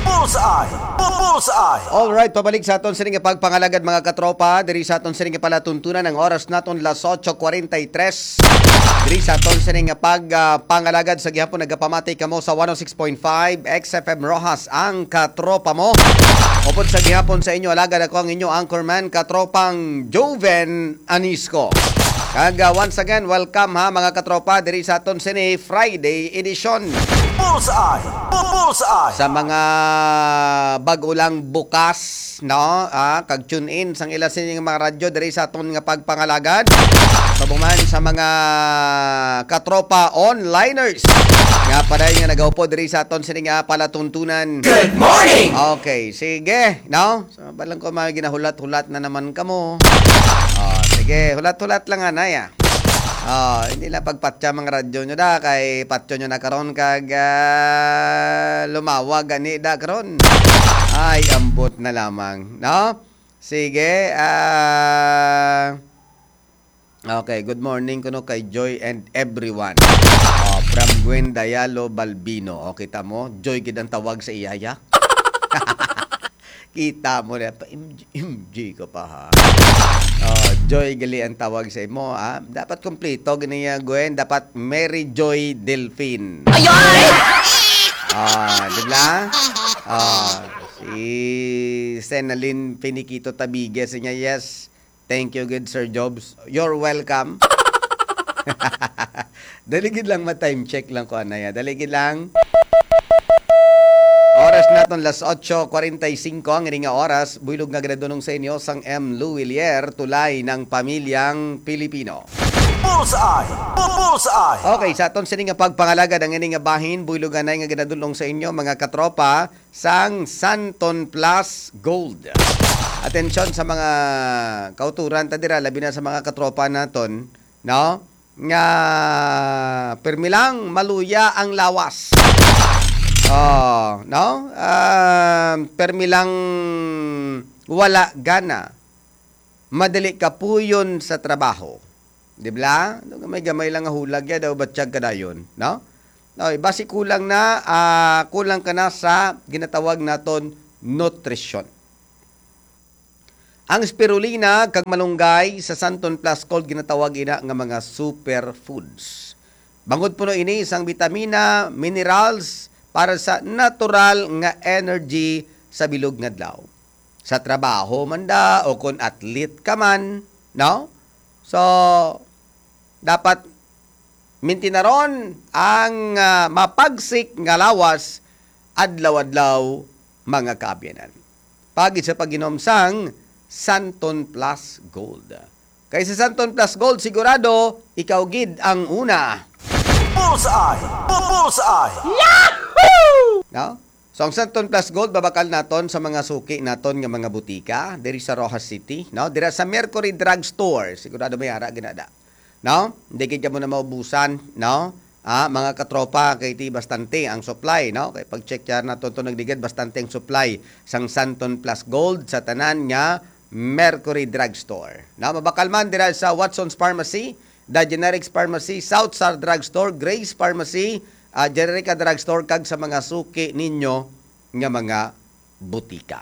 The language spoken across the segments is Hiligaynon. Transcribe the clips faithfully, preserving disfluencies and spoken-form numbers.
Bullseye! Bu- Bullseye! Alright, pabalik sa aton sini nga pagpangalagad, mga katropa. Diri sa aton sini nga palatuntunan, ang oras naton las ocho cuarenta y tres. Diri sa aton sini nga pag, ah, pangalagad, sa gihapon nagapamati kamo sa one oh six point five X F M Roxas, ang katropa mo. Upod sa gihapon sa inyo, alagad ako ang inyo anchorman, katropang Joven Anisco. Kag, ah, once again, welcome ha, mga katropa, diri sa aton sini Friday edition. Bullseye! Bu- Bullseye! Sa mga bag-o lang bukas, no? Ah, kag tune in sang ila sini nga mga radyo diri sa aton nga pagpangalagad. Subong man sa mga katropa onliners nga padayon nga nagaupod diri sa aton sini nga palatuntunan. Good morning! Okay, sige, no? So, balang ko, mga ginahulat-hulat na naman kamo. Oh, sige, hulat-hulat lang, anay, ah. Oh, hindi lang pagpatya mga radyo nyo da, kay patyo nyo na karon kag, ah, lumawag gani da karon. Ay, ambot na lamang, no? Sige, ah, okay, good morning kuno kay Joy and everyone. Oh, from Gwen Dayalo Balbino. Oh, kita mo, Joy gid ang tawag sa iyaya. Kita mo na, pa M J, M J ka pa, ha? Oh, Joy gali ang tawag sa imo, ha? Dapat kompleto gani, ah, Gwen. Dapat Mary Joy Delfin. Ayoy! Ah, di ba? Ah, si Senalyn Finiquito Tabigue, siya, yes. Thank you, good Sir Jobs. You're welcome. Dali gid lang, ma-time check lang ko, anaya. Dali gid lang. Oras naton las ocho cuarenta y cinco ang ini nga oras. Buylog nga ginadunong sa inyo sang M. Lou Willier, tulay ng pamilyang Pilipino. Bullseye! Bu- Bullseye! Okay, sa aton sini nga pagpangalagad ang ini nga bahin, buylog anay nga ginadunong sa inyo, mga katropa, sang Santon Plus Gold. Atensyon sa mga kauturan ta dira, labi na sa mga katropa naton, no? Nga permi lang maluya ang lawas. Oh, no? Ah, permi lang wala gana. Madali kapuyon sa trabaho. Di ba? Gamay-gamay lang nga hulag ya daw, batyag ka dayon, no? Oy, basi kulang na, ah, kulang ka na sa ginatawag naton nutrisyon. Ang spirulina kag malunggay sa Santon Plus Gold ginatawag ina nga mga superfoods. Bangod puno ini sang bitamina, minerals para sa natural nga energy sa bilog nga adlaw. Sa trabaho man da o kon athlete ka man, no? So, dapat mintinaron ang, ah, mapagsik nga lawas adlaw-adlaw, mga kaabyanan. Pag sa pag-inom sang Santon Plus Gold. Kay sa Santon Plus Gold, sigurado, ikaw gid ang una. Bullseye! Bu- Bullseye! No? So, ang Santon Plus Gold, babakal naton sa mga suki naton nga mga butika, diri sa Roxas City, no? Dira sa Mercury Drug Store, sigurado may ara ginada. No? Hindi gid kamo na maubusan, no? Ah, mga katropa, kay ti bastante ang supply, no? Kay pag-check yan naton to, nagligad bastante ang supply sang Santon Plus Gold sa tanan nga Mercury Drug Store. No? Mabakal man dira sa Watson's Pharmacy, The Generics Pharmacy, South Star Drug Store, Grace Pharmacy, ah, Generica Drug Store, kag sa mga suki ninyo nga mga butika.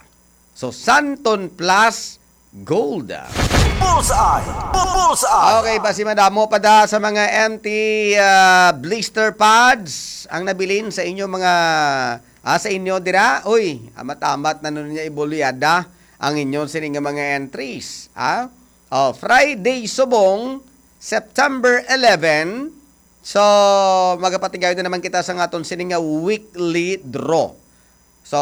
So, Santon Plus Gold. Bullseye! Bu- Bullseye! Okay, basi madamo pa da sa mga empty, ah, blister pads ang nabilin sa inyo mga, ah, sa inyo dira. Uy, amat-amat na nun niya ibulyada ang inyo sini nga mga entries, ah? Oh, Friday subong, September eleven. So, magapatigayon na naman kita sa aton sini nga weekly draw. So,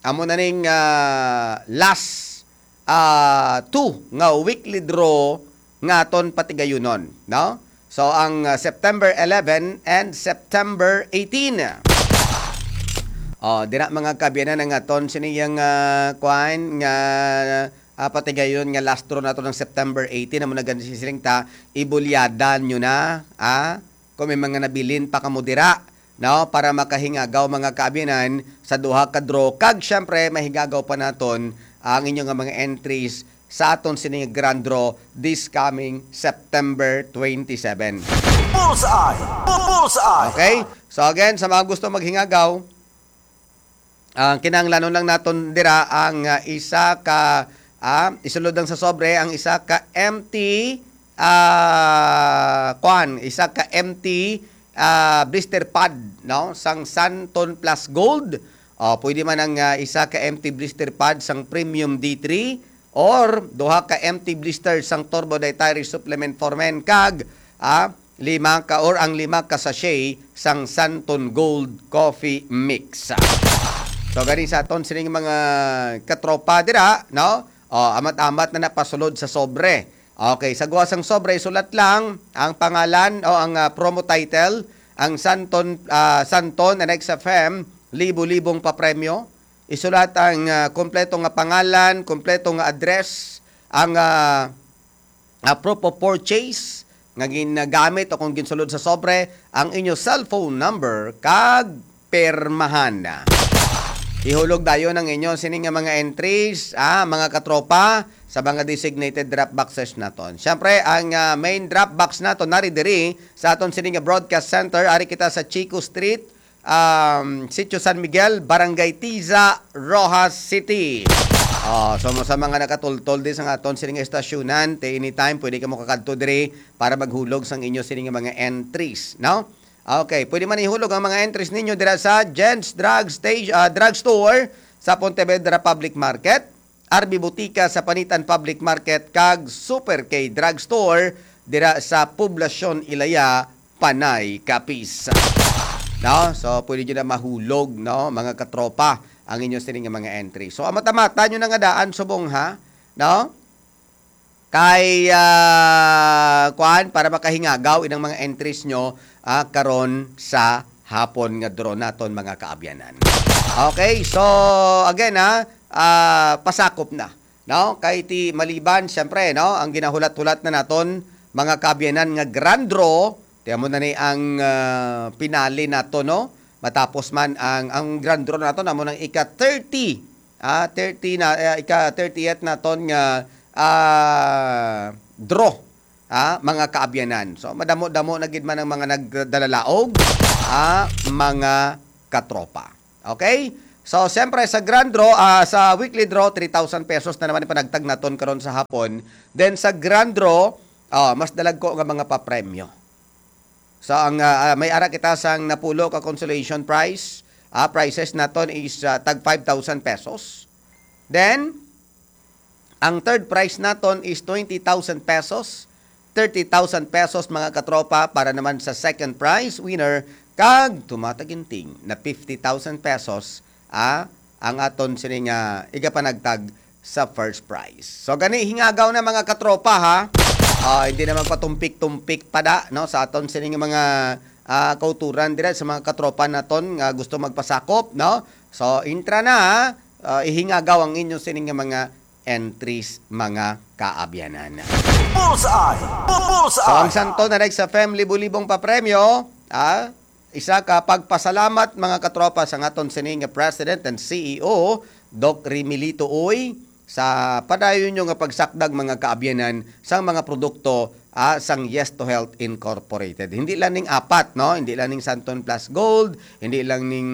amo na ning, ah, last, ah, two nga weekly draw nga aton patigayunon, no? So, ang, ah, September eleven and September eighteen. Oh, dira, mga kaabyanan, ang aton sini yang, ah, kuan nga, ah, patigayon nga last draw nato ng September eighteen, amo na gani siling ta, ibulyada nyo na, ah, kung may mga nabilin pa kamo dira, no, para makahingagaw, mga kaabyanan, sa duha ka draw. Kag, syempre, mahingagaw pa naton ang inyo nga mga entries sa aton sini nga grand draw this coming September twenty-seven. Bullseye! Bu- Bullseye! Okay? So again, sa mga gusto maghingagaw, ang kinahanglanon lang naton dira ang, ah, isa ka, ah, isulod lang sa sobre ang isa ka empty, ah, kwan, isa ka empty, ah, blister pad, no? Sang Santon Plus Gold. O, pwede man ang, ah, isa ka empty blister pad sang Premium D three or duha ka empty blister sang Turbo Dietary Supplement for Men kag, ah, lima ka or ang lima ka sachet sang Santon Gold Coffee Mix. So gani sa aton sining mga katropa dira, no? O, amat-amat na napasulod sa sobre. Okay, sa guwa sang sobre, isulat lang ang pangalan o ang, ah, promo title, ang Santon, ah, Santon and X F M, libo-libong papremyo. Isulat ang, ah, kompleto nga pangalan, kompleto nga address, ang, ah, ah, proof of purchase nga ginagamit o kung ginsulod sa sobre, ang inyo cellphone number kag pirmahan. Ihulog dayon ang inyo sini nga mga entries, ah, mga katropa, sa mga designated drop boxes naton. Siyempre, ang, ah, main drop box naton nari diri sa aton sini nga broadcast center, ari kita sa Chico Street, um, Sitio San Miguel, Barangay Tiza, Roxas City. Oh, so mo sa mga nakatultol di sa aton sini nga estasyonan, te anytime pwede kamo kakadto diri para maghulog sang inyo sini nga mga entries, no? Okay, pwede man ihulog ang mga entries ninyo dira sa Jen's Drug Station, ah, Drug Store sa Pontevedra Public Market, R B Botica sa Panitan Public Market, kag Super K Drug Store dira sa Poblacion Ilaya, Panay, Capiz. No? So, pwede nyo na mahulog, no, mga katropa, ang inyo sini nga mga entry. So, amata-mata nyo na nga daan subong, ha? No? Kay, ah, kuan, para makahingagaw inang mga entries nyo, ah, karon sa hapon nga draw naton, mga kaabyanan. Okay, so again, ha, ah, pasakop na, no? Kay ti maliban, siyempre, no, ang ginahulat-hulat na naton, mga kaabyanan, nga grand draw, ti amo na ni ang, ah, pinali nato, no? Matapos man ang, ang grand draw naton, amo nang ika thirty, ah, thirty na, ah, ika thirtieth naton nga, ah, draw, ah, mga kaabyanan. So madamo-damo na gid man ang mga nagdalalaog, ah, mga katropa. Okay? So siyempre sa grand draw, ah, sa weekly draw, three thousand pesos na naman ipanagtag naton karon sa hapon. Then sa grand draw, ah, mas dalagko nga mga papremyo. So ang, ah, ah, may ara kita sang napulo ka consolation prize. Ah, prizes naton is, ah, tag five thousand pesos. Then ang third prize naton is twenty thousand pesos, thirty thousand pesos, mga katropa, para naman sa second prize winner, kag tumataginting na fifty thousand pesos, ah, ang aton sini nga igapanagtag sa first prize. So gani, hingagaw na, mga katropa, ha. Ah, hindi na magpatumpik-tumpik pa da, no, sa aton sini nga mga, ah, kauturan dira sa mga katropa naton nga gusto magpasakop, no. So intra na, ha. Ah, ihingagaw ang inyo sini nga mga entries, mga kaabyanan. Bullseye! Bu- Bullseye! So, ang Santon and X F M libo-libong papremyo, ah, isa ka pagpasalamat, mga katropa, sa aton sini nga President and C E O, Doc Remilito Uy, sa padayon nyo nga pagsakdag, mga kaabyanan, sang mga produkto, ah, sang Yes to Health Incorporated. Hindi lang ning apat, no? Hindi lang ning Santon Plus Gold, hindi lang ning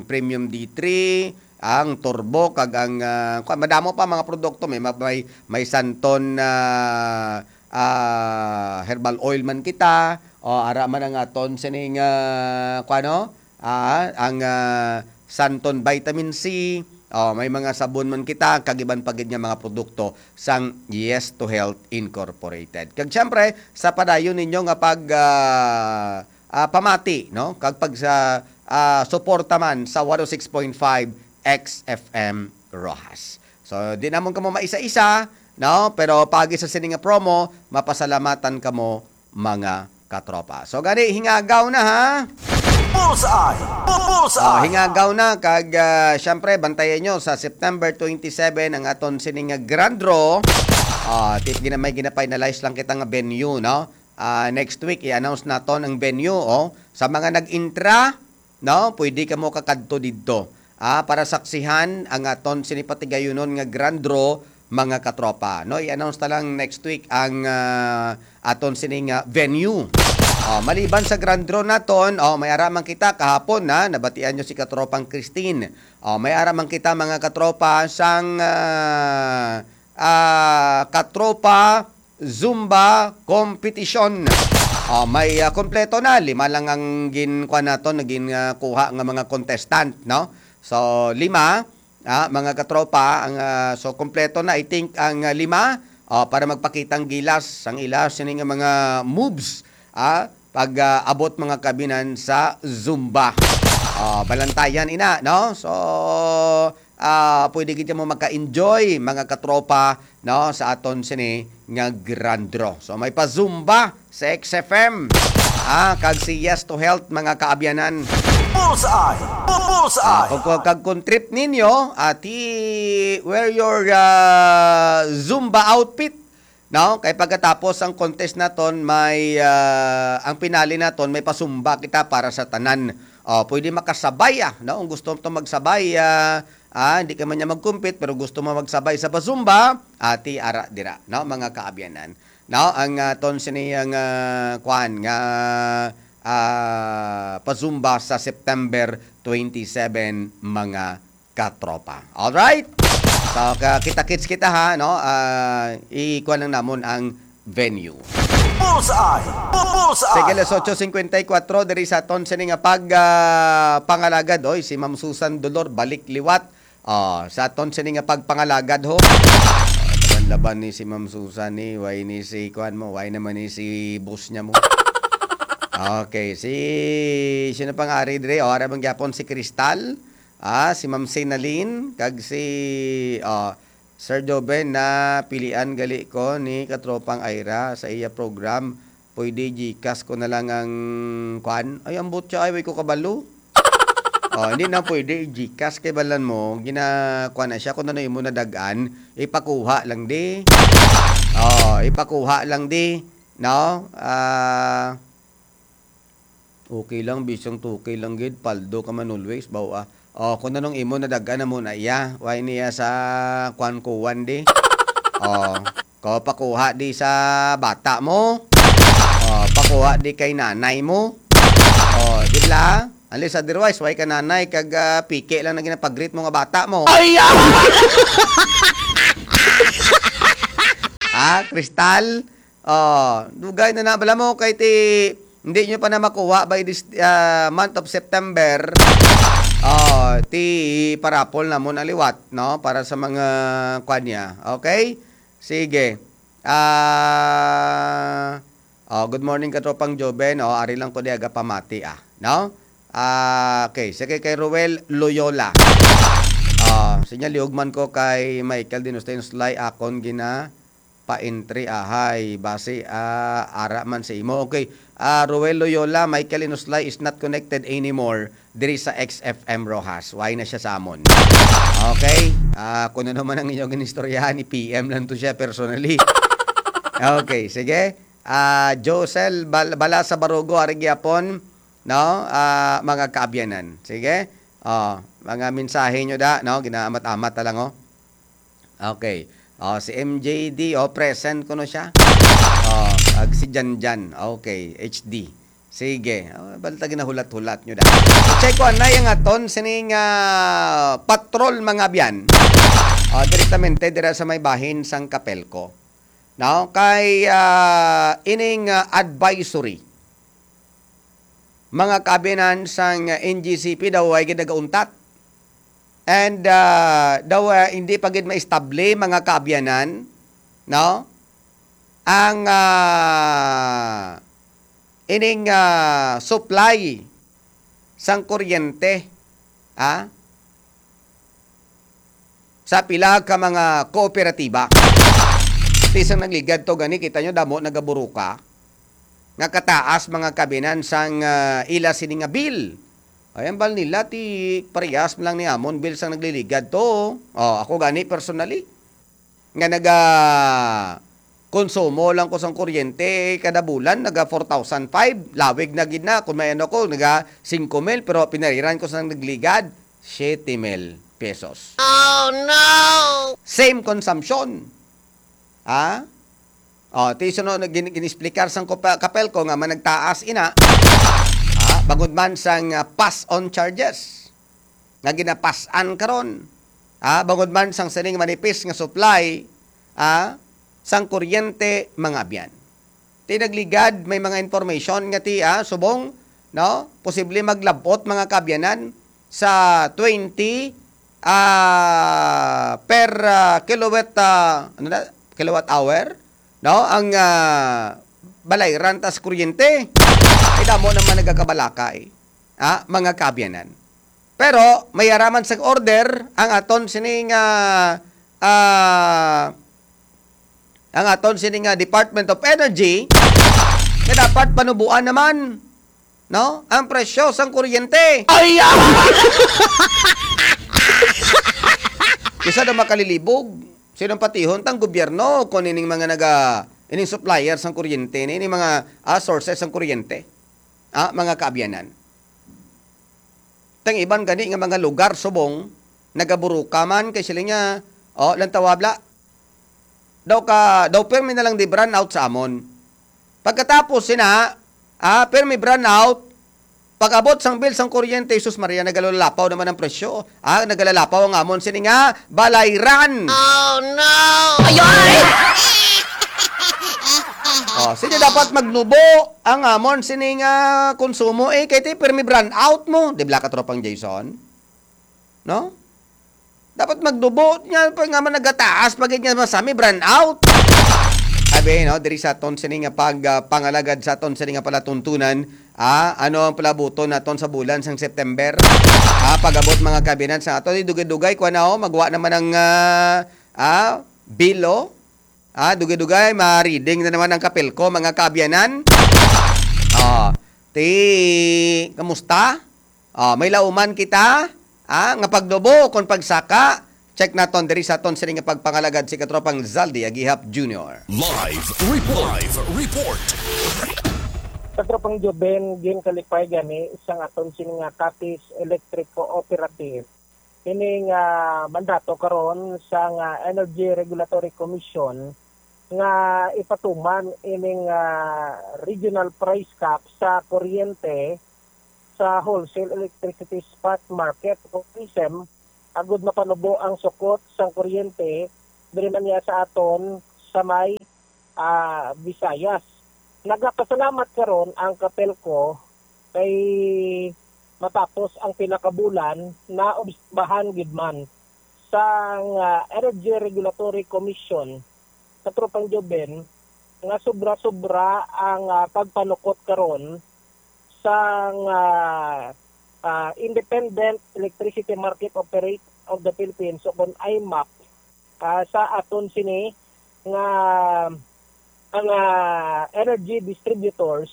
Premium D three, ang Turbo, kag ang, ah, kuwan, madamo pa mga produkto. May, may, may Santon, ah, ah, herbal oil man kita, o ara man ang aton sining, ah, kuwan, no? Ah, ang, ah, Santon Vitamin C, o may mga sabon man kita, kag iban pa gid nga mga produkto sang Yes to Health Incorporated. Kag siyempre, sa padayon ninyo nga pag, ah, ah, pamati, no? Kag pag sa, ah, suporta man sa one oh six point five X F M Roxas. So, di namon kamo maisa-isa, no? Pero pagi sa sini nga promo, mapasalamatan kamo, mga katropa. So gani, hingagaw na, ha. Bullseye! Bu- Bullseye! Ah, hingagaw na kag, ah, syempre, bantayan nyo sa September twenty-seven ang aton sini nga grand draw. Ah, ti- gina may gina-finalize lang kita nga venue, no? Ah, next week i-announce naton ang venue, oh. Sa mga nag-intra, no, pwede kamo kakadto didto, ah, para saksihan ang aton sini patigayunon nga grand draw, mga katropa, no? I-announce ta lang next week ang, ah, aton sini nga venue. Oh, maliban sa grand draw naton, oh, may ara man kita kahapon na nabatian nyo si katropang Christine. Oh, may ara man kita, mga katropa, sang ah, ah, katropa Zumba competition. Oh, may ah, kompleto na, lima lang ang gin kuha naton, naging ah, kuha nga mga contestant, no? So, lima, ah, mga katropa, ang ah, so kompleto na, I think, ang ah, lima, oh, para magpakita ang gilas, ang ila sini nga mga moves, ah, pag ah, abot, mga kabinan, sa Zumba. Oh, balantayan ina, no? So, ah, pwede kita mo maka-enjoy, mga katropa, no, sa aton sini nga grand draw. So, may pa Zumba sa X F M. Ah, kag si Yes to Health, mga kaabyanan. Bullseye! Bu- Ah, Bullseye! Kung, kung, kag kung trip ninyo, ati, wear your ah, Zumba outfit. No? Kay pagkatapos ang contest naton, may ah, ang pinali naton, may pa-Zumba kita para sa tanan. Oh, pwede makasabay ah, no? Kung gusto mo to magsabay, ah, ah, hindi ka man niya mag-compete pero gusto mo magsabay sa pa-Zumba, ati ara dira, no, mga kaabyanan. No, ang ah, ton sini ang ah, kwan nga ah, pa-Zumba sa September twenty-seven, mga katropa. Alright? So, ka- kita-kits kita ha, no? Ah, ikuha lang namon ang venue. Bullseye! Bu- Bullseye! Sige, alas otso cincuenta y cuatro, diri sa aton sini nga pag ah, pangalagad, oy, si Ma'am Susan Dolor balik liwat. Oh, sa aton sini nga pagpangalagad ho. Laban-laban ni si Ma'am Susan ni, why ni si kuan mo, why naman ni si boss niya mo. Okay, si sino pang ari diri? Oh, ara man gyapon si Crystal, ah, si Ma'am Sinalin, kag si ah, Sir Joven, na pilian gali ko ni katropang Ira sa iya program. Pwede Gcash ko na lang ang kwan? Ay, ambot siya, ay, way ko kabalo. Oh, hindi na pwede i-Gcash kay balan mo, gina, kwan na siya, kung ano imo nadag-an, ipakuha lang di. Oh, ipakuha lang di, no? Ah, okay lang, bisang two K lang gid, paldo ka man always, baw, ah. Oh, kung anong imo nadag-an na mo na iya, why niya sa kwan-kuwan di? Oh, ko pakuha di sa bata mo? Oh, pakuha di kay nanay mo? Oh, di ba? Unless otherwise, why ka nanay kag ah, piki lang na ginapag-greet mo nga bata mo? Ay, ah! Ha, Crystal? Oh, dugay na na bala mo kay ti hindi nyo pa na makuha by this ah, month of September. Oh, ti parapol na mo na liwat, no? Para sa mga kwan niya. Okay? Sige. Ah, oh, good morning, katropang Joven. Oh, ari lang ko di aga pamati, ah, no? Ah, okay, sige, kay Ruel Loyola. Ah, sinya, liog man ko kay Michael Dinustin Slay, akon gina pa-entry, ahay, basi ah, ara man sa imo. Okay, ah, Ruel Loyola, Michael Inuslay is not connected anymore diri sa X F M Roxas. Why na siya sa amon? Okay? Ah, kung ano man ang inyong inistoryahan, i-P M lang to siya personally. Okay, sige. Ah, Josel Bal- Balasa Barugo, ari gyapon, no? Ah, mga kaabyanan. Sige. Oh, mga mensahe nyo da, no? Ginaamat-amat na lang, oh. Okay. Oh, si M J D, oh, present kuno siya. Oh, ag si Janjan. Okay, H D. Sige. Oh, balta ginahulat-hulat nyo da. Check ko anay ang aton sining ah, patrol, mga abyan. Oh, direktamente dira sa may bahin sang Kapelco. No? Kay ah, ining ah, advisory, mga kaabyanan sang N G C P daw ay gid nagauntat. And ah, daw ah, hindi pa gid maestable, mga kaabyanan, no? Ang ah, ining ah, supply sang kuryente, ah, sa pila ka mga kooperatiba. Ti sang nagligad to gani, kita nyo, damo nagaburuka nga kataas, mga kabinan, sang ah, ila sini nga bill. Ay, ang bal nila, ti parehas lang ni amon bill sang nagliligad to. Oh, ako gani personally nga naga konsumo lang ko sang kuryente kada bulan, naga four thousand five, lawig na gid na. Kung may ano ko, naga singko mil, pero pinariran ko sang nagligad, siete mil pesos. Oh, no! Same consumption. Ha? Oh, ti suno na gin-, gin-explicar sang Copa-, Capelco nga man nagtaas ina. Ah, bangod man sang, ah, pass on charges nga ginapasan karon. Ah, bangod man sang sining manipis nga supply, ah, sang kuryente, mga abyan. Ti nagligad, may mga information nga ti, ah, subong, no? Posible maglabot, mga kaabyanan, sa twenty, ah, per, ah, kilowatt, ah, ano na? Kilowatt hour, no? Ang, ah, balayran ta sa kuryente. Ay, damo naman nagakabalakay, ah, mga kaabyanan. Pero may araman sang order ang aton sining, ah, ah, ang aton sining, ah, Department of Energy nga dapat panubuan naman, no, ang presyo sang kuryente. Ay, ah! Kisa daw makalilibog, sinong patihon tang gobyerno kung ining mga naga-, ining supplier sang kuryente, ining mga, ah, sources sang kuryente? Ah, mga kaabyanan. Tang iban gani nga mga lugar subong nagaburuka man kay sila nga, oh, lang tawabla. Daw ka, daw permi na lang di brownout sa amon. Pagkatapos sina, ah, permi brownout, pag-abot sang bill sang kuryente, Jesus Maria, nagalalapaw naman ang presyo. Ah, nagalalapaw ang amon sini nga balayran. Oh, no! Ayoy! Oh, sige, dapat magnubo ang amon sini nga konsumo, eh, kay ti permi brownout mo, di ba, katropang Jason? No? Dapat magnubo nga pa nga man nagataas pa gid nga masami brownout. Abi, no, diri sa aton sini nga pag, ah, pangalagad sa aton sini nga palatuntunan, ah, ano ang palabuton naton sa bulan sang September? Ah, pag-abot, mga kaabyanan, sa ato, dugay-dugay, kuha na, oh, magwa naman ang, ah, ah, bilo. Ah, dugay-dugay, ma-reading na naman ang Capelco, mga kaabyanan. Oh, ti, kamusta? Ah, may lauman kita, ah, nga pagnubo kon pagsaka. Check naton diri sa aton sini nga pagpangalagad, si Katropang Zaldi Agihap Junior. Live report. Live report. Katropang Joben, ginkalipay gani sang aton sini nga Capiz Electric Cooperative ini nga mandato karon sang Energy Regulatory Commission nga ipatuman ining, ah, regional price cap sa kuryente sa wholesale electricity spot market o RESEM, agud mapanubo ang sukot sang kuryente diri man niya sa aton sa may, ah, Visayas. Nagapasalamat karon ang Capelco kay matapos ang pila ka bulan, naobserbahan gid man sang, ah, Energy Regulatory Commission, Katropang Joben, nga sobra-sobra ang, ah, pagpanukot karon sang, ah, ah, Independent Electricity Market Operator of the Philippines o kon IMAP, ah, sa aton sini nga mga energy distributors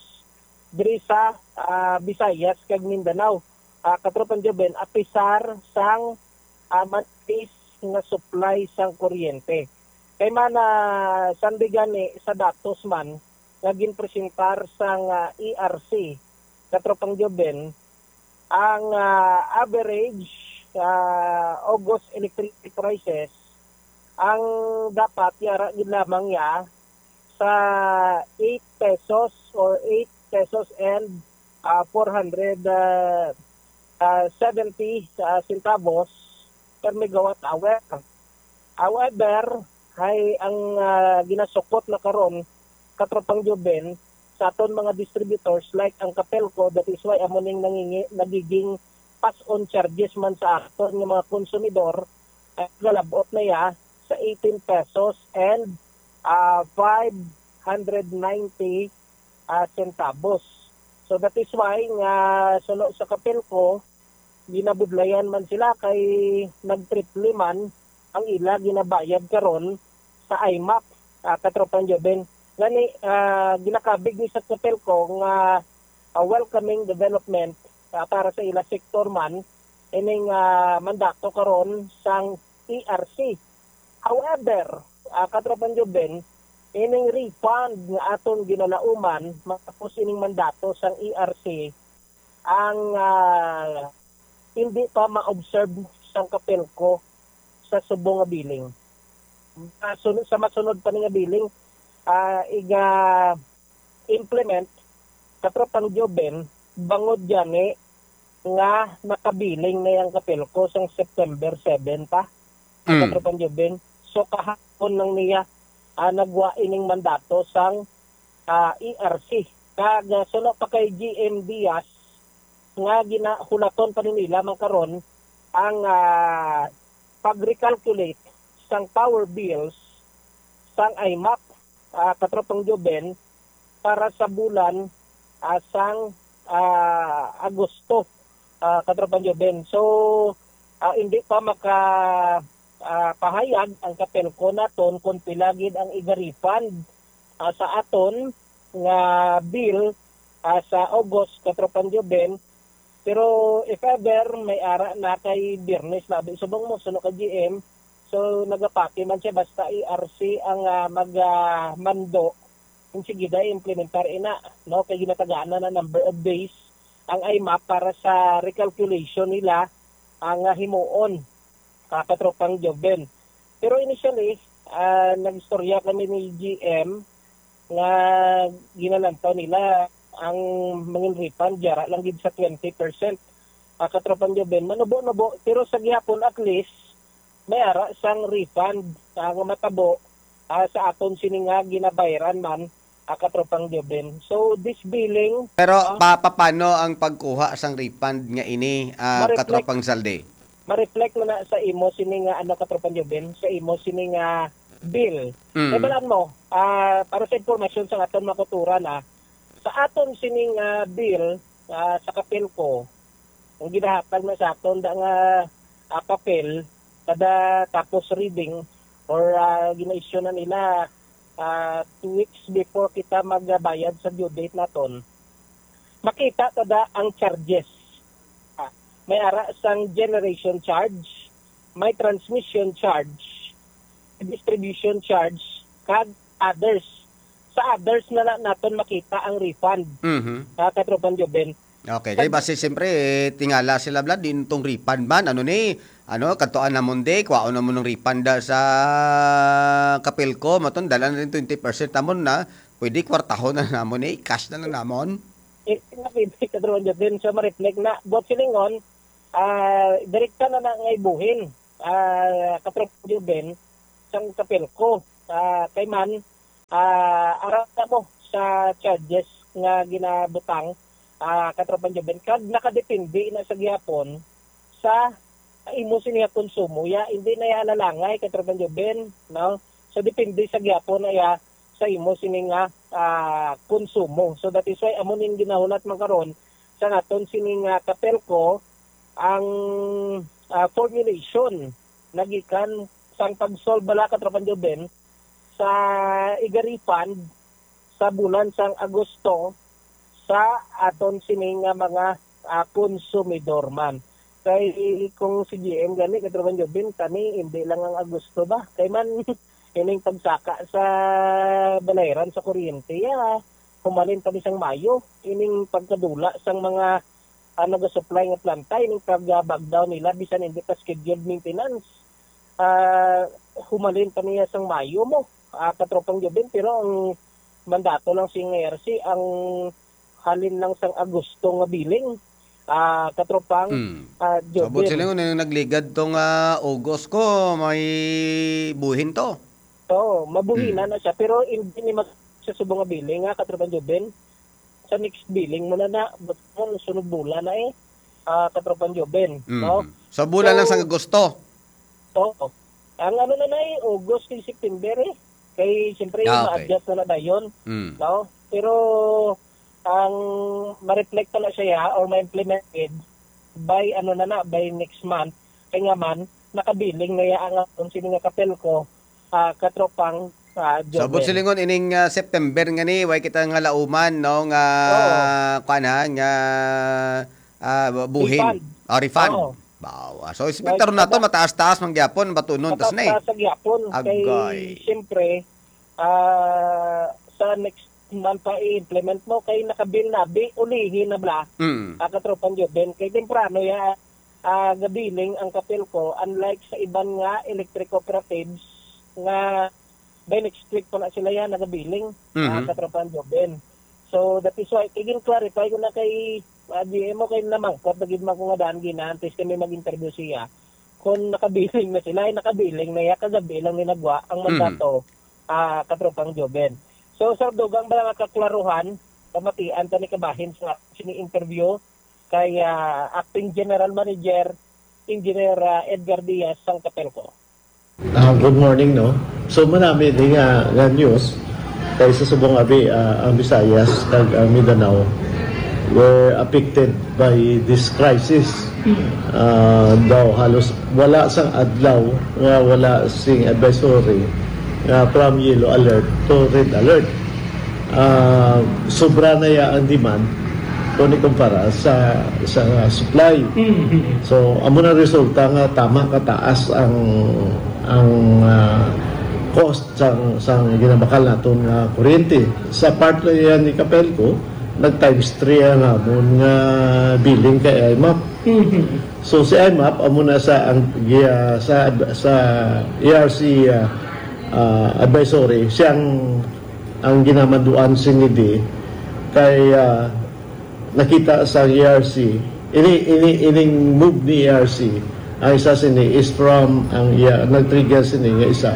diri sa, ah, Visayas kag Mindanao. Ah, Katropang Joben, apisar sang, ah, manipis nga supply sang kuryente. Kay man, ah, sandi gani sa datos man nga ginpresentar sang, ah, E R C, Katropang Joben, ang, ah, average, ah, August electricity prices, ang dapat yara gid lamang ya sa eight pesos or eight pesos and, ah, four hundred, ah, ah, seventy, ah, centavos per megawatt hour. However, hay ang, ah, ginasukot na karon, Katropang Joben, sa aton mga distributors like ang Capelco, that is why amo ning nangingi-, nagiging pass-on charges man sa aton nga mga konsumidor, ay galabot na ya sa eighteen pesos and, ah, five hundred ninety, ah, centavos. So that is why nga suno sa Capelco, ginabudlayan man sila kay nagtriple man ang ila ginabayad karon sa IMAP, ah, Katropang Joben. Gani, ah, ginakabig ni sa Capelco nga, ah, welcoming development, ah, para sa ila sektor man ining, ah, mandato karon sang E R C. However, ah, Katropang Joben, ining refund nga aton ginalauman matapos ining mandato sang E R C, ang, ah, hindi pa ma-observe sang Capelco sa subong nga billing. Sa sun-, sa masunod pa ni nga billing, ah, iga-implement, Katropang Joven, bangod gani nga nakabiling na yang Kapelco sang September seven pa, ang Mm. Katropang Joven. So, kahapon lang niya, ah, nagwa ining mandato sang, ah, E R C. Kag, ah, suno pa kay G M Diaz, nga ginahulaton pa ni nila man karon ang, ah, pag-recalculate sang power bills sang I M A P, ah, Katropang Joven, para sa bulan, ah, sang, ah, Agosto, ah, Katropang Joven. So, ah, hindi pa maka, ah, pahayag ang Kapelco naton kung pila gid ang iga-refund, ah, sa aton nga bill, ah, sa August, Katropang Joven. Pero if ever, may ara na kay Biyernes, labi subong mo, suno ka G M. So, nagapati man siya, basta E R C ang, ah, mag, ah, mando. Kung sige, dahil implementar ina, no? Kay ginatagaan na na number of days ang I M A P para sa recalculation nila ang, ah, himuon, ah, Katropang Joven. Pero initially, ah, nag-istorya kami ni G M nga ginalantaw nila ang mangin refund, yara lang gid sa twenty percent. Ah, Katropang Joven, manubo-nubo, pero sa gihapon, at least, may ara sang refund, ah, nga matabo, ah, sa aton sini nga ginabayaran man, ah, Katropang Joven. So, this billing, Pero ah, pa, paano ang pagkuha sang refund nga ini, ah, ma-reflect Katropang Zaldi? Ma-reflect mo na sa imo sini nga, ano, Katropang Joven, sa imo sini nga bill. Mm. Kay balaan mo, ah, para sa impormasyon sa aton mga kauturan, ah, sa aton sini nga bill, ah, sa Kapelco, ang ginahatag na sa aton da nga, ah, papel, kada tapos reading or, ah, gina-issue na nila, ah, two weeks before kita magbayad sa due date naton, makita ta da ang charges. Ah, may ara sang generation charge, may transmission charge, distribution charge, kag others. Sa others na, na naton makita ang refund, Mhm. ah, Katropang Joven. Okay, kay Kag- basi siyempre, eh, tingala sila, Vlad, din tong refund man. Ano ni, ano, kadtuan namon di, kwaon namon ng refund da sa Kapelco, maton, dala na rin twenty percent namon na, pwede kwartahon na namon eh, cash na lang namon. Eh, nakita, Katropang Joven, sa ma-reflect na, buot silingon, ah, direkta na na nga ibuhin, ah, Katropang Joven, sang Kapelco. Ah, kay man, ah, ara na mo sa charges nga ginabutang, ah, Katropang Joven, kag nakadepende na sa gihapon sa imo sini nga konsumo. Ya, hindi na ya alalangay, Katropang Joven, no? So, depende sa gihapon na ya sa imo sini nga, ah, konsumo. So, that is why amo ning ginahulat man karon sa naton sini nga Kapelco ang, ah, formulation nagikan sang pag-solve bala, Katropang Joven, sa iga-refund sa bulan sang Agosto sa aton sini nga mga, ah, konsumidor man. Kay kung si G M gani, Katropang Joven, kani hindi lang ang Agosto ba? Kay man, ining pagsaka sa balayran sa kuryente, ya, humalin pa ni sang Mayo. Ining pagkadula sang mga, ah, nagasupply nga planta, ining pag, ah, back down nila, bisan hindi pa scheduled maintenance. Ah, humalin pa niya sang Mayo mo, ah, Katropang Joven, pero ang mandato lang sing E R C, ang halin lang sang Agosto nga billing, ah, Katropang, Hmm. ah, Joven. Sabot sila nga nagligad tong, ah, August ko, may buhin to. Oo, mabuhinan Hmm. na siya, pero hindi ni mag-, sa subong nga billing, ah, Katropang Joven. Sa next billing mo na na, but mo, sunod bulan na eh, ah, Katropang Joven, Mm. no? Sa bulan lang So, sa Agosto? Oo. Ang ano na na eh, August kay September eh. Kay siyempre, Ah, okay. ma-adjust na na dayon, Mm. no? Pero ang ma-reflect na siya or ma-implemented by ano na na, by next month. Kay nga man, nakabiling na ya ang aton sini nga Kapelco, ah, Katropang, ah, Sabot Joven. Silingon, ining, ah, September nga ni, way kita nga lauman, no, nga, Oo. kuwan, ha, nga, ah, buhin. Refund. Ah, refund. Oo. Bawa. So, Way expectaron nato, kada mataas-taas man gyapon, batunon, tas na eh. Mataas-taas sa gyapon. Kay, Agay. siyempre, ah, sa next month pa i-implement mo, kay nakabil na, bi-, ulihin na bala. Mm. Ah, Katropang Joven, kay temprano ya, ah, gabiling ang Kapelco, unlike sa iban nga electric cooperatives nga by next week pa na sila yan, nagabiling, ah, Mhm. katropang Joven. So, that is why, kay gin-clarify ko na kay, ah, G M o, kay namangkot na gid man ko nga daan gina, antes kami mag-interview siya. Kung nakabiling na sila, ay nakabiling na ya, kagabi lang ni nagwa ang Mhm. mandato, ah, katropang Joven. So, sa dugang ba nga kaklaruhan, pamatian ta ni kabahin sa sini interview kay, ah, Acting General Manager, Engineer, ah, Edgar Diaz sang Capelco. Ah, good morning, no? So, manami ni nga, nga news kay sa subong abi, ah, ang Visayas kag ang Mindanao were affected by this crisis. Ah, daw halos wala sang adlaw nga wala sing advisory nga from yellow alert to red alert. Ah, sobra na ya ang demand kung ikumpara sa, sa supply. Mhm. So, amo na resulta nga tama kataas ang, ang, ah, cost sang, sang ginabakal naton nga kuryente. Sa part na yan ni Capelco, nag times three ang amon nga billing kay I M A P. Mhm. So, si I M A P, amo na sa, ang, giya-, sa, sa E R C, ah, ah, advisory, siyang ang ginamanduan sini di kay, ah, nakita sa E R C. Ini, ini, ining move ni E R C, ang isa sini is from ang iya, nag-trigger sini nga isa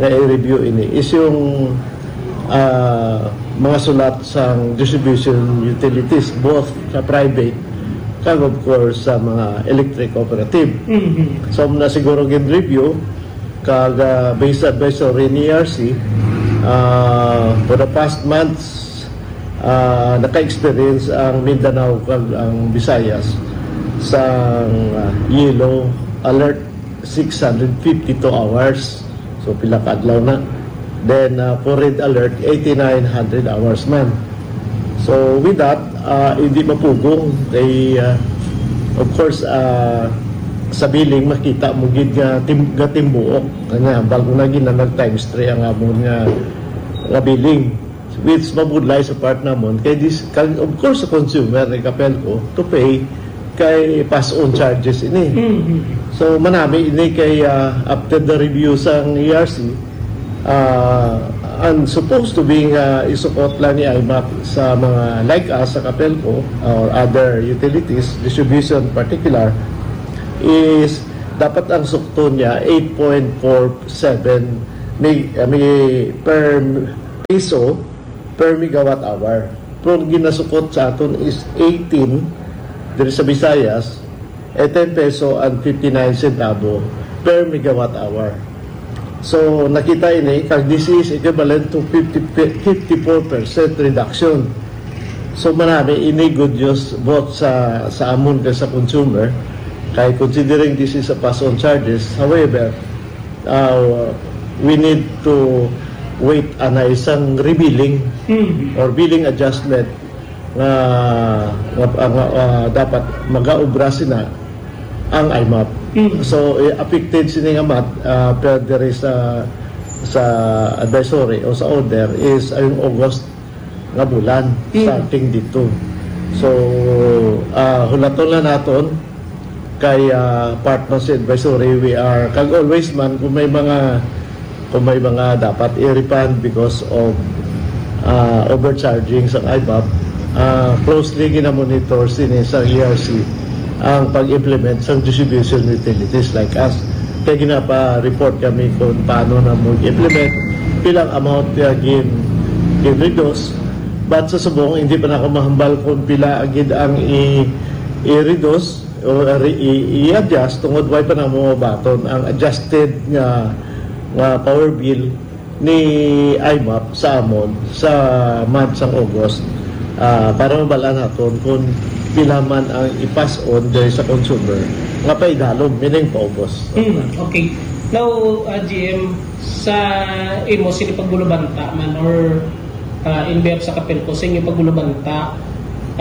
nga i-review ini is yung, ah, mga sulat sang distribution utilities, both sa private kag, of course, sa mga electric cooperative. Mhm. So, na siguro gin-review, kag, ah, based sa advisory ni E R C, ah, for the past months, ah, naka-experience ang Mindanao kag ang Visayas sa, ah, yellow alert, six hundred fifty-two hours. So, pila ka adlaw na. Then, ah, for red alert, eighty-nine hundred hours man. So, with that, ah, hindi mapugong kay, ah, of course, ah, sa billing makita mo gid nga tim-, nga timbuok. Kanya, bago na gid na nag times three ang amon nga, nga billing, which mabudlay sa part namon kay this, kag of course sa consumer ni Capelco to pay kay pass on charges ini. Mhm. So, manami ini kay, ah, after the review sang E R C, ah, ang supposed to be nga isukot lang ni I M A P sa mga like us sa Capelco or other utilities, distribution particular, is dapat ang sukton niya eight point four seven mi-, mi-, per piso per megawatt hour. Pero ginasukot sa aton is eighteen diri sa Visayas, eh, ten peso and fifty-nine centavo per megawatt hour. So, nakita ini, kag this is equivalent to fifty, fifty-four percent reduction. So, manami ini good news both sa, sa amon kag sa consumer, kay considering this is a pass-on charges. However, uh, we need to wait anay sang rebilling Mhm. or billing adjustment nga, nga, nga, ah, dapat magaobra sina ang I M A P. Mhm. So, eh, affected sini nga month, ah, pero diri sa, sa advisory o sa order is ang August nga bulan, Mm. starting dito. So, ah, hulaton lang naton kay, ah, part man sa advisory, we are, kag always man, kung may mga, kung may mga dapat i-refund because of, ah, overcharging sa I M A P, ah, closely ginamonitor sini sa E R C ang pag-implement sa distribution utilities like us. Kaya ginapa-report kami kung paano na mag-implement, pilang amount nga gin-, gin-reduce. But sa subong, hindi pa na ako mahambal kung pila gid ang i-, i-reduce o i-, i-, i-adjust tungod way pa na mo baton ang adjusted nga, nga power bill ni I M A P sa amon sa month sang August, ah, para mabal-an naton kung pila man ang i-pass on diri sa consumer nga paidalom, meaning paubos. Hmm, okay. Now, ah, G M, sa imo, sini pagbulubanta man or, ah, in behalf sa Capelco, sa inyo pagbulubanta,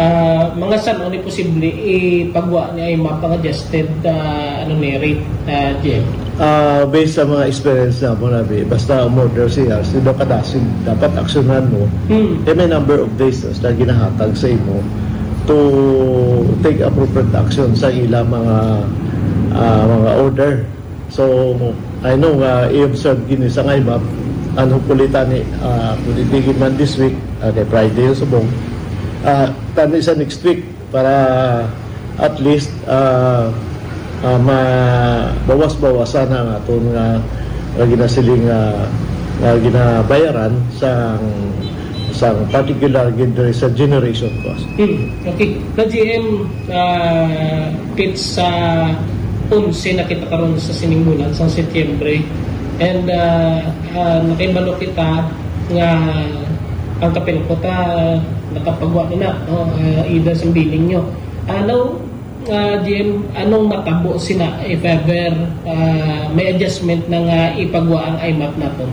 ah, mga san-o ni posible ipagwa ni I M A P ang adjusted, ah, ano ni, rate, ah, G M? Ah, based sa mga experience na mo, nabi, basta umorder siya, sino kadasig dapat aksyonan mo, Hmm. eh, may number of days na sila ginahatag sa imo to take appropriate action sa ila mga, ah, mga order. So, I know nga i-observe gini sa I M A P, And hopefully tani, ah, kung hindi man this week, ah, kay Friday yung subong, ah, tani sa next week para at least, ah, ah, mabawas-bawasan ang aton nga, nga ginasiling nga, nga ginabayaran sang, sang particular gid diri sa generation cost. Hmm, okay. Ka-G M, ah, pits sa onse na kita karon sa sining bulan, sa Setyembre. And, ah, ah, nakahibalo kita nga ang Kapelco ta nakapagwa na na, no? Ah, ida sang billing nyo. Ah, now, ah, G M, anong matabo sina if ever, ah, may adjustment na nga ipagwa ang I M A P naton?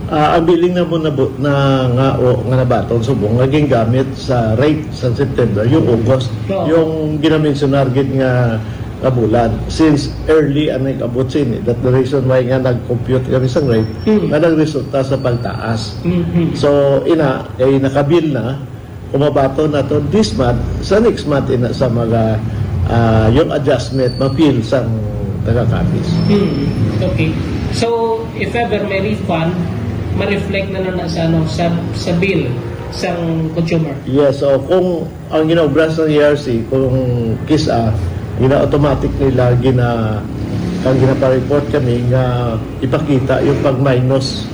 Ah, ang billing na mo na, na nga, o, nga nabaton subong nga gingamit sa rate sa September, yung August, Oo. yung ginamensionar gid nga, nga bulan. Since early ang nag-abot sini, that the reason why nga nag-compute kami sa rate, Mm. nga nagresulta sa pagtaas. Mm-hmm. So, ina, kay nakabil na, kung mabaton nato this month, sa next month, ina, sa mga, ah, yung adjustment, ma-feel sang taga-Capiz. Hmm, okay. So, if ever may refund, ma-reflect na na, na sa, ano, sa, sa bill sang consumer? Yes, so kung ang ginaobra sa E R C, kung kis-a, gina-automatic nila, gina-, ang ginapa-report kami nga ipakita yung pag-minus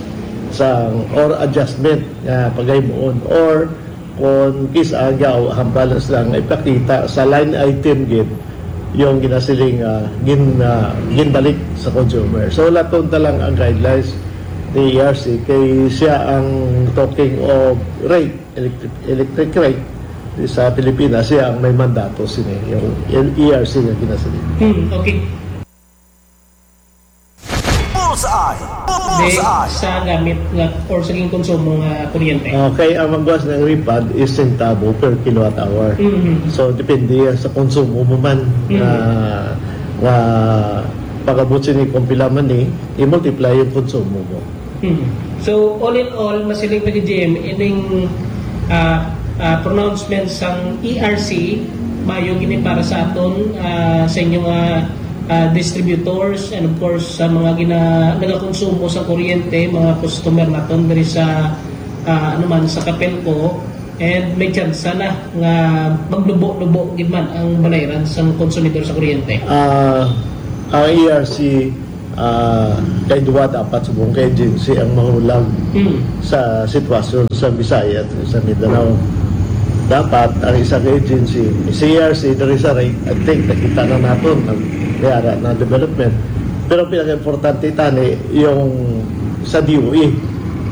sa, or adjustment nga paghimuon, or kung kis-a, gaw, ang balance lang ipakita sa line item gid yung ginasiling, ah, gin-, ah, ginbalik sa consumer. So, laton ta lang ang guidelines ni E R C kay siya ang talking of rate, electric, electric rate sa Pilipinas, siya ang may mandato sini, yung E R C nga ginasiling. Hmm, okay. Bullseye! Di, Bullseye! Sa gamit nga or sa ginkonsumo nga kuryente. Okay, ang magwas ng refund is sentabo per kilowatt hour. Mhm. So, depende yan sa konsumo mo man Mhm. nga, nga pag-abot sini kung pila man ni, i-multiply yung konsumo mo. Mhm. So, all in all, masiling pa gid, G M, ining, ah, ah, pronouncement sang E R C, mayo gini para sa aton, ah, sa inyo nga, ah, distributors, and of course, sa mga gina-, nagakonsumo sa kuryente, mga customer naton diri sa, ah, ano man, sa Capelco, and may tsansa na nga magnubo-nubo gid man ang balayran sang konsumidor sa kuryente. Ah, ang E R C, ah, kay duwa dapat subong ka agency ang mahulag Hmm. sa sitwasyon sa Bisaya at sa Mindanao. Dapat ang isang agency, si E R C, there is a right, I think, nakita na naton ang may ara na development. Pero ang pinaka-importante tani, yung sa D O E.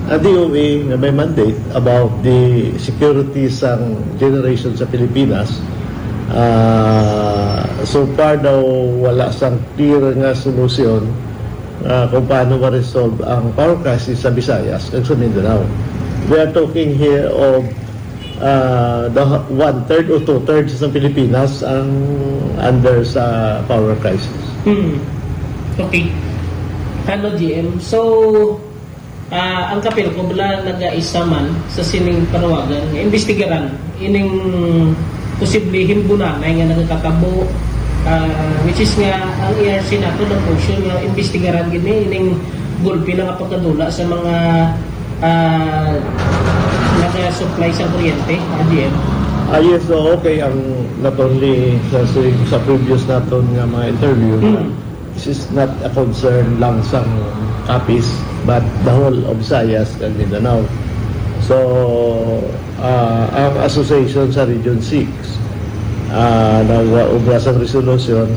Ang D O E nga may mandate about the security sang generation sa Pilipinas, ah, so far daw wala sang clear nga solusyon, ah, kung paano ma-resolve ang power crisis sa Visayas kag sa Mindanao. We are talking here of, ah, the h-, one-third o two-thirds ng Pilipinas ang under sa power crisis. Hmm. Okay. Hello, G M. So, ah, ang Capelco bala nagaisa man sa sining panawagan nga imbestigaran ining posible himbunanay nga nagakatabo, ah, which is nga ang E R C nato nag-motion nga imbestigaran gid ni ining gulpi na nga pagkadula sa mga, ah, nagasupply sa kuryente, R D M. Ah, yes, so okay, ang not only sa, sa, sa previous naton nga mga interview, Mm. this is not a concern lang sa Capiz, but the whole of Visayas and Mindanao. So, ah, ang association sa Region six, ah, nag-obra sang resolution.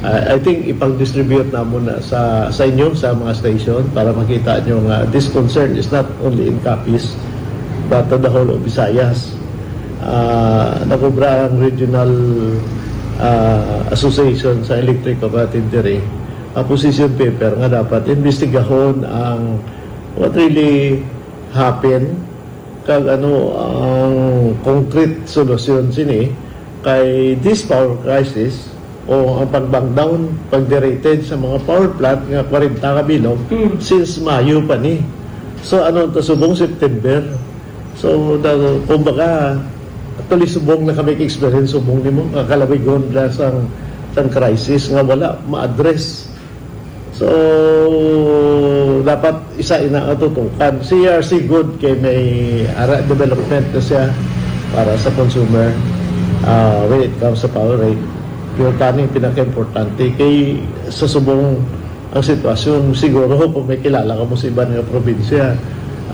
Ah, I think ipag-distribute namon na sa, sa inyo, sa mga station, para makita nyo nga this concern is not only in Capiz, but to the whole of Visayas. Ah, nag-obra ang regional, ah, association sa electric cooperative diri, ang position paper nga dapat imbestigahon ang what really happened, kag ano ang concrete solusyon sini kay this power crisis o ang pag-bang down, pag-derated sa mga power plant nga kwarenta ka bilog Mm. since Mayo pa ni. So, ano, ta subong September. So, da-, kumbaga, actually, subong na kami experience, subong nimo, kakalawigon na sang, sang crisis nga wala ma-address. So, dapat isa ina ang tutukan. Si E R C good kay may ara development na siya para sa consumer, ah, when it comes sa power rate. Pero kaning pinaka-importante kay sa subong ang sitwasyon, siguro kung may kilala ka mo sa iban nga probinsya,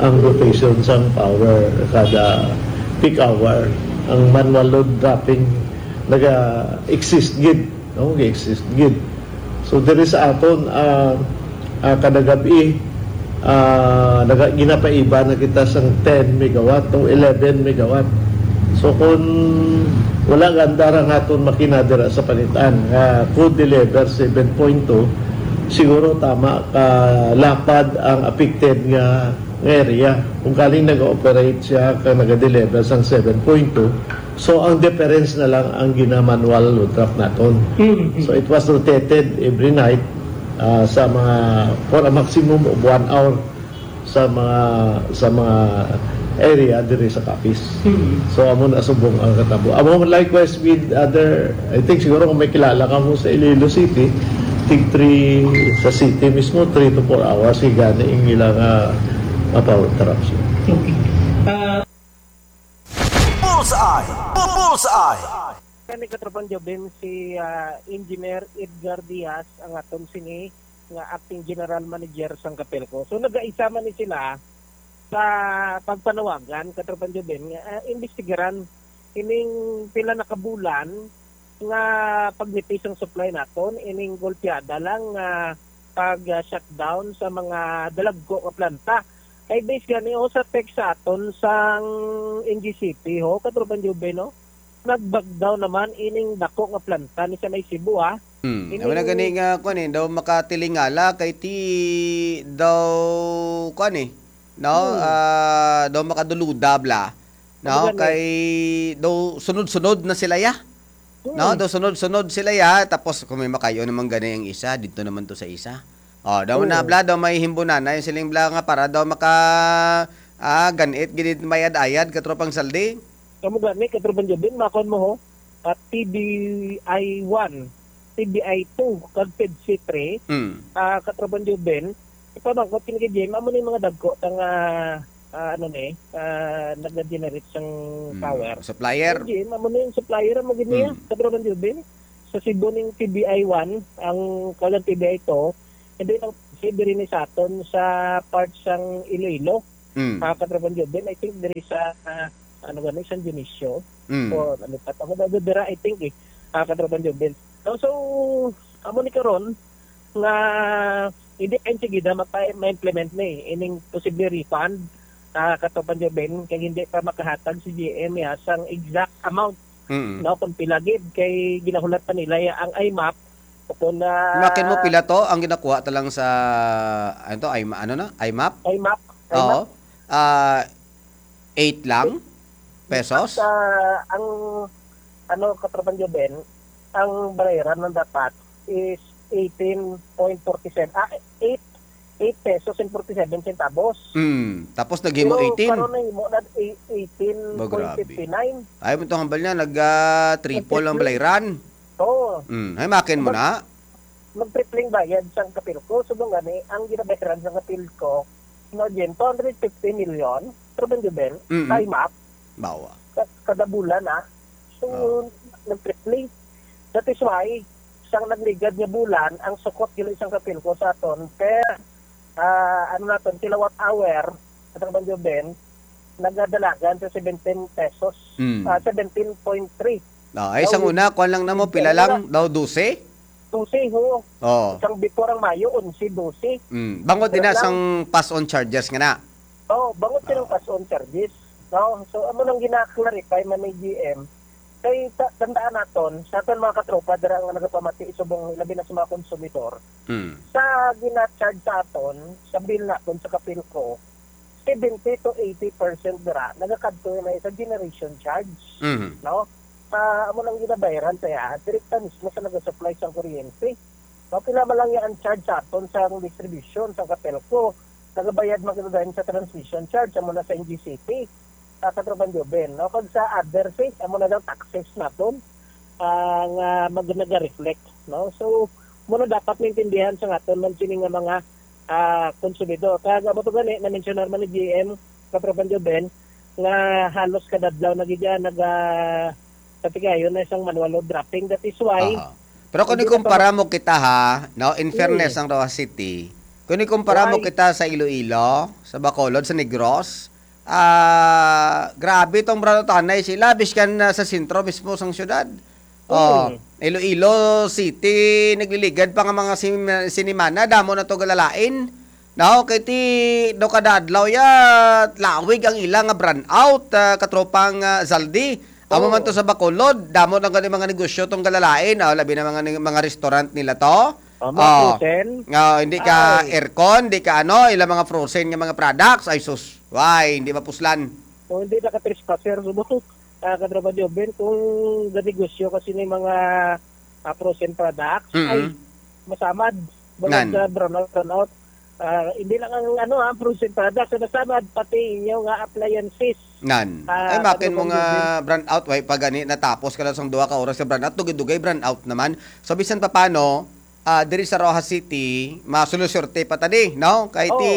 ang rotation sang power kada peak hour, ang manual load dropping naga-exist gid, no? Ga-exist gid. So, diri sa aton, ah, ah, kada gab-i, ah, naga-, ginapaiba na kita sang ten megawatt o eleven megawatt. So, kung wala ganda ra nga aton makina dira sa Panitan nga could deliver seven point two, siguro tama ka lapad ang affected nga, nga area. Kung kaling nag-operate siya kag nag-deliver sang seven point two, so ang difference na lang ang gina-manual load drop naton. Mm. So it was rotated every night, ah, sa mga, for a maximum of one hour sa mga, sa mga area diri sa Capiz. Mm. So amo na subong ang katabo. Amo likewise with other, I think siguro kung may kilala ka mo sa Iloilo City, tig three sa city mismo, three to four hours, gani ang ila nga, nga power interruption. Okay. Ah, Bullseye! Bu-, Bullseye! Kani, Katropang Jobin, si, ah, Engineer Edgar Diaz ang aton sini nga acting general manager sang Capelco. So, nagaisa man ni sila sa pagpanawagan, Katropang Jobin, nga, ah, imbestigaran ining pila na ka bulan nga pagnipis ang supply naton, ining golpeada lang nga pag, ah, shutdown sa mga dalagko nga planta. Kay base gani, oh, sa text sa aton sang N G C P, ho, Katropang Jobin, no? Nag-back down naman ining dako nga planta ni sa may Cebu, ah. Hmm. Ining Wala gani nga, kuwan eh, daw makatilingala kay ti, daw, kuwan eh, no? Hmm. Ah, daw makaduluda, bla. No? Ano gani? Kay daw sunod-sunod na sila, ya. No? Hmm. Daw sunod-sunod sila, ya. Tapos kung may makayo naman gani ang isa, dito naman to sa isa. Oh, daw na, Oo. bla, daw may himbunan na yung siling, bla, nga para daw maka, ah, ganit, ginit, mayad-ayad, Katropang Saldi. Amo gani, Katropang Jobin, makon mo, ho, at T B I one, T B I two, kag PEDCI three, Mm. ah, Katropang Jobin, ipamangkot kini kay Jim, amo ni mga dagko ta nga, ah, ano ni, ah, nag-generate sang Mm. power. Supplier. Kay Jim, amo ni yung supplier, amo gid niya, Mm. Katropang Jobin. Sa Cebu ning T B I one, ang kalang T B I two, hindi lang si diri ni sa aton sa part sang Iloilo. Mm. Ah, Katropang Jobin, I think diri sa, ah, ano gani, San Dionisio. Mm. O, ano pa, ako na dira, I think, eh. Ah, Katropang Jobin. So, so, amo ni karon nga hindi pa enseguida mapa-, ma-implement ni ining posible refund, ah, Katropang Jobin, kay hindi pa makahatag si G M ya sang exact amount, Mm. no, kung pila gid, kay ginahulat pa nila ya ang I M A P, o kung na Makin mo pila to ang ginakuha ta lang sa, ano to, I M A, ano na? I M A P? I M A P, I M A P. Oo. Ah, eight lang? Pesos? Sa, ang, ano, Katropang Jobin, ang bayaran man dapat is eighteen point forty-seven, ah, eight, eight pesos and forty-seven centavos. Mm. Tapos naghimo Pero eighteen. karon nahimo na ei-, eighteen point fifty-nine. Ba, grabe. Ayaw mo itong hambal niya, nag, ah, triple ang Nag-triple. balayran. Oo. Mm. Ay, makin mo Mag-, na? Mag-tripling bayad sang Capelco. Subong gani, ang ginabayaran sang Capelco, no, Jen, two hundred fifty million, Katropang Jobin, Mm. sa I M A P. Bawa. Ka-, kada bulan, ah. So, Oh. nag-triple. That is why, sang nagligad nga bulan, ang sukot gali sang Capelco sa aton per, ah, ano naton, kilowatt hour, Katropang Jobin, nagadalagan sa seventeen pesos, Mm. ah, seventeen point three. Ah, ay, Daw, sang una, kuwan lang na mo, pila lang? Daw, dose? Dose, ho. Oo. Sang before ang Mayo, onse, dose. Mm. Bangod din na Pero lang sang pass-on charges nga na. Oo, bangod silang Oo. pass-on charges. No? So, amo nang gina-clarify man ni G M. Kay ta-, tandaan naton, sa aton mga katropa dira nga nagapamati subong labi na sa mga konsumidor, Mm. sa gina-charge sa aton, sa bill naton sa Capelco, seventy to eighty percent dira nagakadto na sa generation charge, Mhm. no? Sa amo nang ginabayaran sa iya, direkta mismo sa nagasupply sang kuryente. No, pila man lang iya ang charge sa aton sa distribution, sa Capelco, nagabayad man kita dayon sa transmission charge, amo na sa N G C P, sa Katropang Jobin, no? Kag sa other, eh, amo na daw taxes naton, ah, nga mag-, naga-reflect, no? So, Muna dapat maintindihan sa aton man sini nga mga, ah, konsumidor. Kaya amo to gani, na-mensionar man ni G M, Katropan Joben, nga halos kada adlaw na gid yan nag-, ah, patigayon na isang manual load dropping. That is why, Aha. Pero kung hindi na ikumpara kama- mo kita, ha, no, in fairness Mm. ang Roxas City, kung ikumpara mo Why? kita sa Iloilo, sa Bacolod, sa Negros, ah, grabe tong brownout anay sila, biskan na sa sentro mismo sang syudad. Oh, Mm. Iloilo City, nagliligad pa nga mga sim-, sinimana, damo na to galalain. No, kay ti, do kada adlaw ya, lawig ang ila nga brownout, ah, katropang, ah, Zaldi. Amo man to Oo. sa Bacolod, damo na gani mga negosyo tong galalain, oh, labi na mga ni-, mga restaurant nila to. Oh, mga Oh. frozen. Oh, hindi ka Ay. aircon, hindi ka ano, ila mga frozen nga mga products, ay sus, why, hindi mapuslan. Kung hindi naka-trespasser, subong, ah, Katropa Joven, kung ganegosyo kasi ni mga, ah, frozen products, Mm-mm. ay, masamad. Bangod Nan. sa brownout, brownout. Ah, hindi lang ang, ano, ah, frozen products, ang nasamad, pati inyo nga appliances. Nan. Ah, Ay, makin ano mo bang nga yun? Brownout, way pa gani natapos ka lang sang duha ka oras sa brownout, dugay-dugay brownout naman. So, bisan pa paano, ah, diri sa Roxas City, masulusyerte pa tani, no? Kay ti,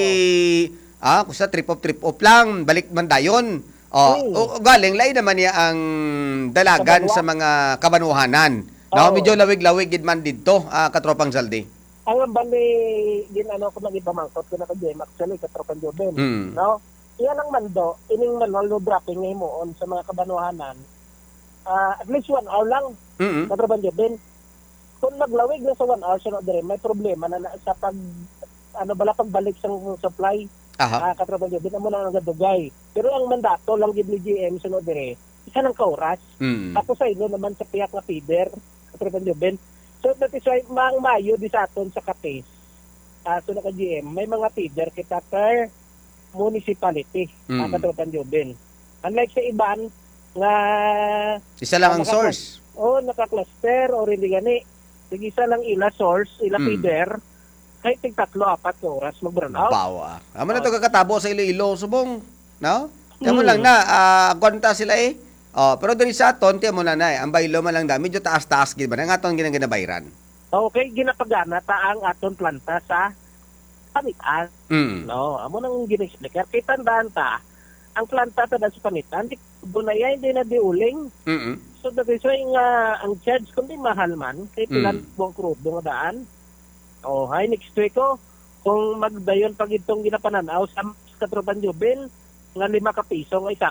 Oo. ah, kusa trip off, trip off lang, balik man dayon. Oh, Oo. o, galing, lain naman niya ang dalagan Kabanwa. sa mga kabanwahanan. No? Oo. Medyo lawig-lawig gid man didto, ah, katropang Zaldi. Ang ambal ni, gin-, ano ko, nagipamangkot ko na kay Jem, actually, katropang Joven. Mm. No? Iya lang man do, ining manual no dropping nga himuon sa mga kabanwahanan, ah, at least one hour lang, Mm-mm. katropang Joven. Kung maglawig na sa one hour, sunod diri, may problema na, na sa pag, ano bala, pagbalik sa supply, Aha. ah, katropang Joven, amo na ang gadugay. Pero ang mandato lang gid ni G M, sunod diri, isa lang ka oras. Mm. Tapos sa ilo naman sa piyak nga feeder, katropang Joven. So, that is why, mang mayo di sa aton sa Capiz, ah, so naka G M, may mga feeder kita per municipality, Mm. ah, katropang Joven. Unlike sa iban, nga Isa lang ah, ang naka-, source. Oh, naka-cluster or hindi gani. Sige, isa lang ila source, ila Mm. feeder. Kay tig tatlo, apat ka oras mag-brownout. Bawa. Amo na Oh. to kakatabo sa Iloilo, subong, no? Kaya mo Hmm. lang na, ah, agwanta sila eh. Oh, pero diri sa aton, tiyan mo na na eh. Ang baylo man lang da, medyo taas-taas gid ba? Ang aton ginaginabayran. Okay, ginapagana ta ang aton planta sa Panitan. Mm. No, amo nang gina-explicar. Kay tandaan ta, ang planta ta sa Panitan, di, dunay, hindi na di uling. Mm-mm. So, that is why nga ang charge, kundi mahal man, kay Mm. pila buong krudo nga daan. Oh, hi, next week, oh. Kung magdayon pa gid tong ginapananaw sa katropang Joven, nga lima ka piso nga isa